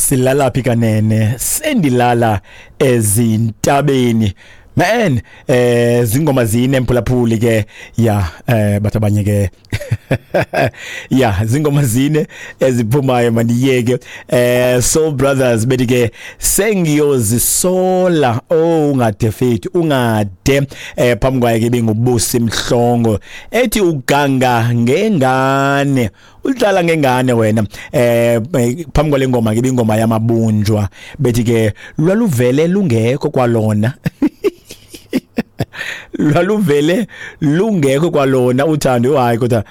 Silala phi kanene? Sendilala ezintabeni. Man, zingoma zine, mphulaphuli ke. Ya, bathi abanye ke, ya, zingoma zine eziphumayo, mandiyeke. Soul Brothers bethi ke "Sengiyozisola". Oh, ungade fethu, ungade. Phambi kwaye ke benguBusi Mhlongo ethi "Uganga ngengane, udlala ngengane wena". Phambi kwale ngoma ke ingoma yamaBunjwa bethi ke "Lwaluvele lungekho kwalona, lwaluvele lungekho kwalona uthando". Hayi kodwa,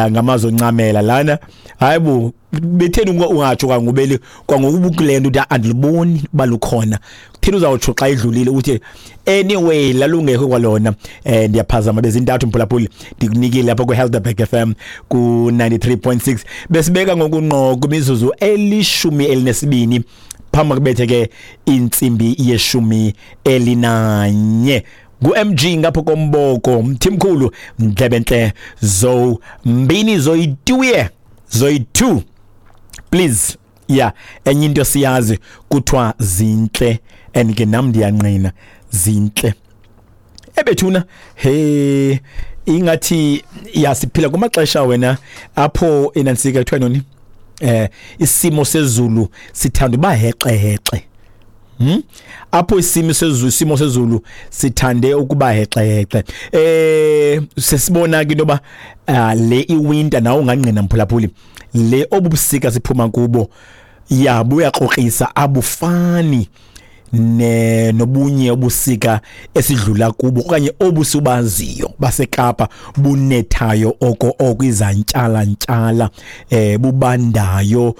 ngamazwi oncamela lana. Hayibo, betheni ungatsho kwangubeli kwangokuba kule nto uthi andiliboni balukhona? Kutheni uzawutsho xa idlulile uthi anyway lalungekho kwalona? Ndiyaphazama, bezintathu, mphulaphuli, ndikunikile apha ku-Helderberg FM ku-93.6. Besibeka ngokunqo kwimizuzu 12 phambi kubethe ke intsimbi ye-11. Ngu-MG ngapho komboko, mthimkhulu, ndlebentle zo mbini zoyituye zoyi-2, please. Yeah, enye into siyazi kuthiwa zintle and ke nam ndiyanqina, zintle ebethuna. He, ingathi yasiphila kumaxesha wena apho inansika kuthiwa noni, isimo sezulu sithanda uba hexe hexe. Apho isimo sezulu sithande ukuba hexe hexe. Sesibona ke into ba le iwinter, nawo ungangqina mphulaphuli, le obubusika siphuma kubo, ya, buyakrokrisa, abufani ne nobunye ubusika esidlula kubo okanye obusubaziyo baseKapa, bunethayo oko oko, izantyala ntyala, bubandayo,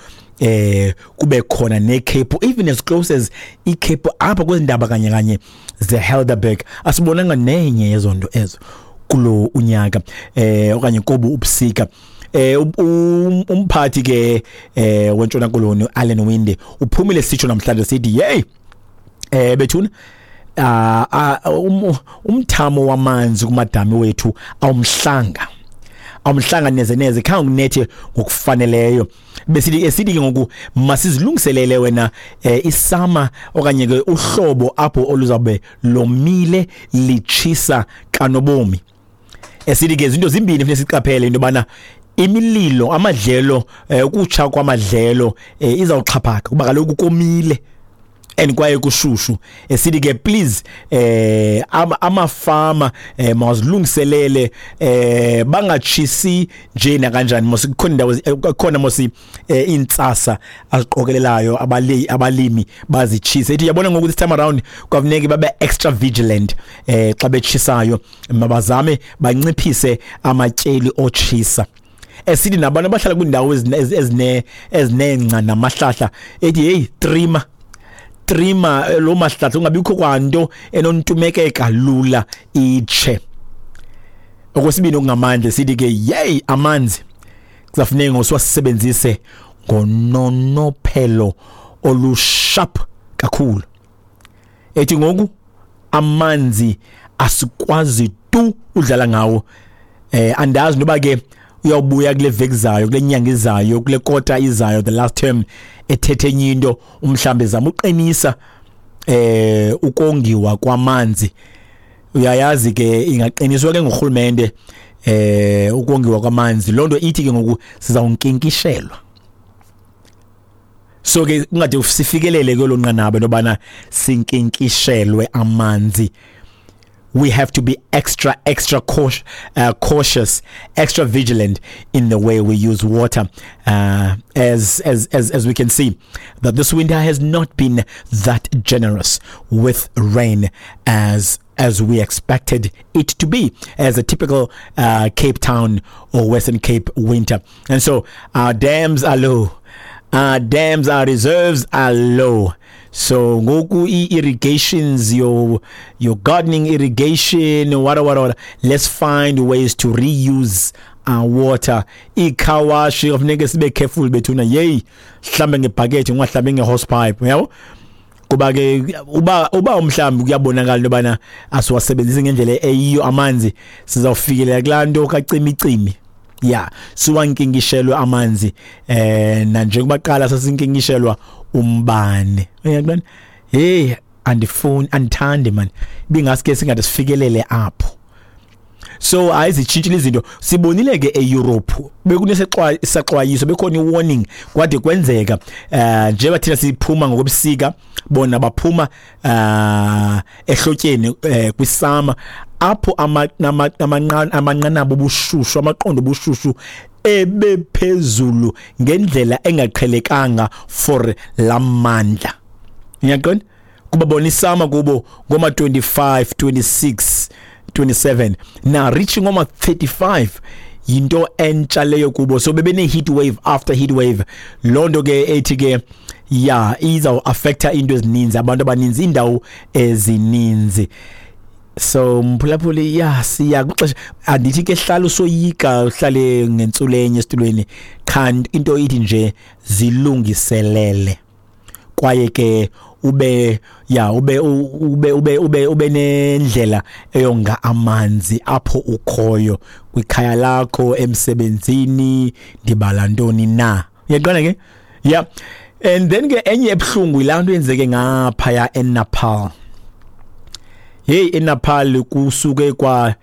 kube khona nekhephu, even as close as ikhephu apha kwezindaba kanye kanye zeHelderberg. Asibonanga nenye yezonto ezo kulo unyaka okanye kobu ubusika. Umphathi ke weNtshona Koloni, Alan Winde, uphumile sitsho namhlanje sithi, "Hey, bethuna, umthamo wamanzi kumadami wethu awumhlanga, awumhlanga neze neze, khange kunethe ngokufaneleyo." Besithi esithi ke ngoku masizilungiselele wena isama okanye ke uhlobo apho oluzawube lomile, litshisa kanobomi. Esithi ke izinto zimbini funeka siqaphele, into yobana imililo, amadlelo, ukutsha kwamadlelo izawuxhaphaka kuba kaloku komile and kwaye kushushu. Esithi ke please, amafama mawazilungiselele, bangatshisi nje nakanjani mos. Kukhona indawo, khona mos intsasa aziqokelelayo abalimi bazitshise. Ethi yabona ngoku this time around kwafuneka babe extra vigilant xa betshisayo, mabazame banciphise amatyeli otshisa. Esithi nabantu abahlala kwiindawo ezinengca namahlahla, ethi hey, trima trima lo mahlahla, ungabikho kwanto enontumekeka lula itshe. Okwesibini okungamandla, sithi ke yey, amanzi kuzafuneka ngosiwasebenzise ngononophelo olusharp kakhulu. Ethi ngoku amanzi asikwazi tu udlala ngawo. Andazi noba ke uyawubuya kule veki zayo, kule nyanga izayo, kule kota izayo, the last term, ethethe enye into, umhlambe zama uqinisa ukongiwa kwamanzi. Uyayazi ke ingaqiniswa ke ngurhulumente ukongiwa kwamanzi, lonto ithi ke ngoku sizawunkinkishelwa. So ke kungade sifikelele kwelo nqanaba lobana sinkinkishelwe amanzi, we have to be extra extra cautious, extra vigilant in the way we use water, as we can see that this winter has not been that generous with rain as we expected it to be as a typical Cape Town or Western Cape winter. And so our dams are low, our dams, our reserves are low. So ngoku i-irrigations, your gardening irrigation, what what what, let's find ways to reuse our water. I-car wash kufuneka sibe careful bethuna. Yey, hlambe ngebhakethi, ungahlambi nge-hosepipe, uyabo, kuba ke uba umhlambi kuyabonakala into yobana asiwasebenzisi ngendlela eyiyo amanzi, sizawufikelela kulaa nto kacimicimi. Ya, siwankinkishelwe amanzi nanjengoba qala sasinkinkishelwa umbane. Uyabona, hey, andifuni, andithandi man, bingaske singade sifikelele apho. So ayizitshintshile izinto. Sibonile ke eEurope bekunesaxwayiso, bekhona iwarning, kwade kwenzeka. Njengoba thina siphuma ngokobusika, bona baphuma ehlotyeni, kwisummer, apho amanqanaba obushushu, amaqondo obushushu ebephezulu ngendlela engaqhelekanga for lamandla. Uyaqonda, kuba bona isummer kubo ngoma 25, 26, 27, na reaching ngoma 35 yinto entsha leyo kubo. So bebene heat wave after heat wave. Lonto ke ethi ke ya iza affecta into ezininzi, abantu abaninzi, indawo ezininzi. So mphulaphuli, ya, siya kwixesha. Andithi ke hlala usoyika, uhlale ngentsulenye esitulweni, qha into ithi nje zilungiselele, kwaye ke ube ya ube ube ube ube ube nendlela eyonga amanzi apho ukhoyo, kwikhaya lakho, emsebenzini, ndibala ntoni na. Uyaqonda ke? Yeah, and then ke enye ebuhlungu yilaa nto yenzeke ngaphaya eNepal. Hey, eNepal kusuke kwa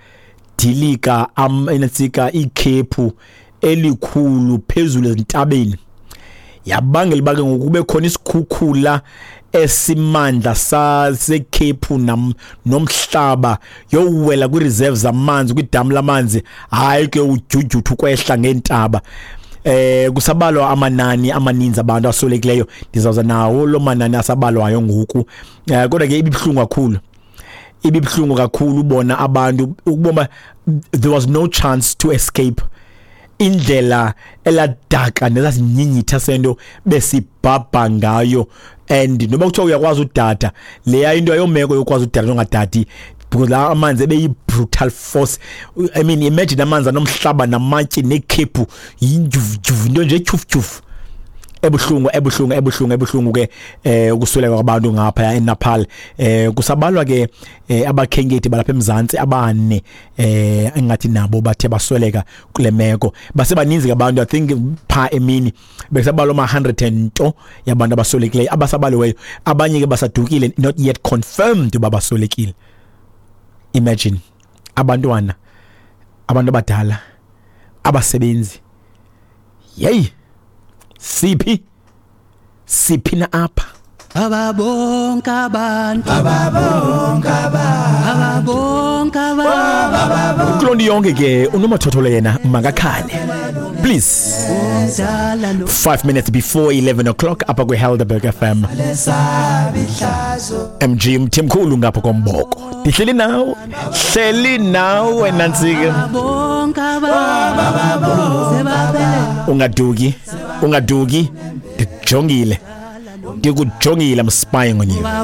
dilika entsika ikhephu elikhulu phezulu ezintabeni, yabangela uba ke ngoku kube khona isikhukhula esimandla sasekhephu nomhlaba, yowela kwi-reserve zamanzi, kwidamu lamanzi. Hayi ke, udyudyuthu ukwehla ngeentaba. Kusabalwa amanani amaninzi abantu aswelekileyo. Ndizawuza nawo lo manani asabalwayo ngoku. Kodwa ke ibibhlungu kakhulu, ibibhlungu kakhulu ubona abantu, ukubona there was no chance to escape, indlela eladaka nezasinyinyitha sento besibhabha ngayo. And noba kuthiwa uyakwazi udada, leya into ayomeko yokwazi udada ongadadi, because la amanzi ebeyi-brutal force. I mean, imagine amanzi anomhlaba namatye nekhephu, yinjuvujuvu, into nje etyhufutyhufu, ebuhlungu, ebuhlungu, ebuhlungu, ebuhlungu ke ukusweleka kwabantu ngapha eNepal. Kusabalwa ke abakhenkethi balapha eMzantsi abane engathi nabo bathe basweleka kule meko. Basebaninzi abantu, I think pha emini bekusabalwa ama 100 and nto yabantu abaswelekileyo abasabaliweyo. Abanye ke basadukile, not yet confirmed uba baswelekile. Imagine abantwana, abantu abadala, abasebenzi. Yey, siphi, siphi na apha? Ababonke abantu, ababonke abantu, ababonke abantu. Kuloo nto yonke ke, unomathotholo yena makakhale, please. Umdala no 5 minutes before 11 o'clock apha kwi-Helderberg FM, MG Mthimkhulu ngapha komboko. Ndihleli nawe, hleli nawe nantsika. Bonke abantu sebaphele. Ungaduki, ungaduki, ndikujongile, ndikujongile. I'm spying on you.